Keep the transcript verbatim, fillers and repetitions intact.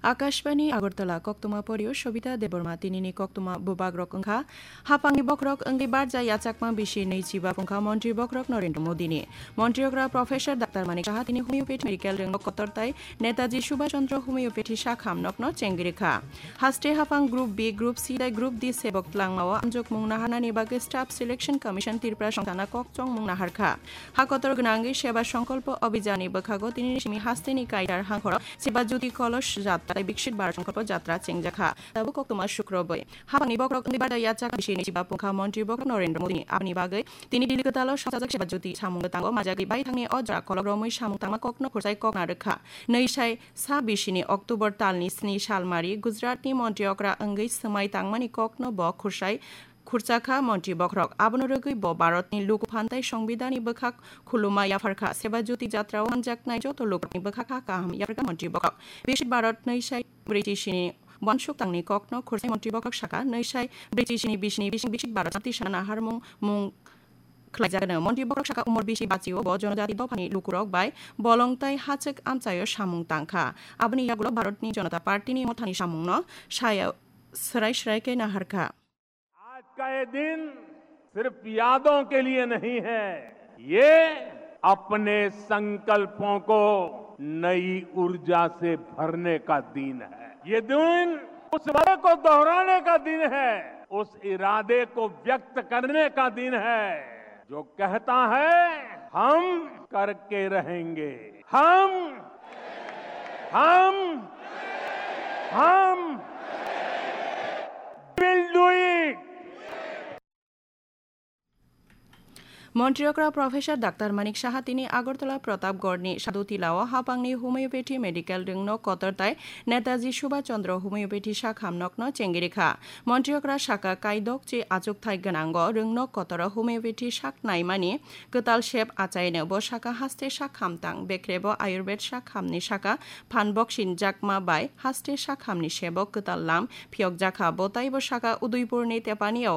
Akashbani Agartala, koktwma porio Sobita Debbarma. Tinini koktwma bubagrok wngkha: Hapangni bokhorok wngwi barja yachakma bisi nwi chiba phungkha Montri bokhorok Narendra Modini. Montri okra Professor Doctor Manik Saha tini homeopathy medical rwngno kotor tai Netaji Subhash Chandra homeopathy sak hamnokno chengri kha. Haste haphang Group B, Group C tei Group D sebok tlangmao amjokmung naharnani bagwi Staff Selection Commission Tripura songthana kokchongmung naharkha. Ha kotor gwnangwi Seba Songkolpo Abhijanni bwkhago tinini simi hasteni Kaitor hangkhoro Seba Jyoti Kolosh Jatra tei Biksit Bharat Songkolpo Jatra chengjakha. Tabuk koktwma sukrobwi. Hapangni bokhorok wngwi barja yachak bisi nwi chiba phungkha Montri bokhorok Narendra Modini. Aboni bagwi tini Delhi kwtalo songchajak Seba Jyoti samung tango majagwi baithangni o jora kolok romwi samung tangma kokno khursai kokna rwkha. Nwi sai sa bisini October talni sni salmari Gujaratni Montri okra wngwi swmai tangmani kokno bo khursai khurchakha Montri bokhorok. Abono rwgwi bo Bharatni luku phan tei Songbidanni bwkhak khuluma yapharkha. Seba Jyoti Jatrao manjaknai joto lukurokni bwkhak ha kaham yapharkha Montri bokhorok. Biksit Bharat nwi sai brwi chisini wansuk tangni kokno khursai Montri bokhorok saka, nwi sai brwi chisini bisini bising Biksit Bharat Jyoti sana naharmung mung khlaijagano. Montri bokhorok saka umor bisi bachio bo Jonojati dophani lukurok bai bolong tai hachwk amchaio samung tangkha. Aboni yagulo Bharatni Janata Partyni mothani samungno saya swrai swrai khe naharkha. आज का ये दिन सिर्फ यादों के लिए नहीं है, ये अपने संकल्पों को नई ऊर्जा से भरने का दिन है। ये दिन उस वादे को दोहराने का दिन है, उस इरादे को व्यक्त करने का दिन है जो कहता है, हम करके रहेंगे, हम हम हम will do it. Montri okra Professor Doctor Manik Saha tini Agartala Pratapgarhni Sadhu Tilao hapangni homeopathy medical rwngno kotor tai Netaji Subhash Chandra homeopathy sak hamnokno chengri kha. Montri okra saka kaidok chi achukthai gwnango rwngno kotoro homeopathy sak naimani kwtal sep achaino. Bo saka haste sak hamtang bekrebo Ayurved sak hamni saka phan boksin jakma bai haste sak hamni sebo kwtal lam phiyokjakha. Bo taibo saka Udaipurni Tepani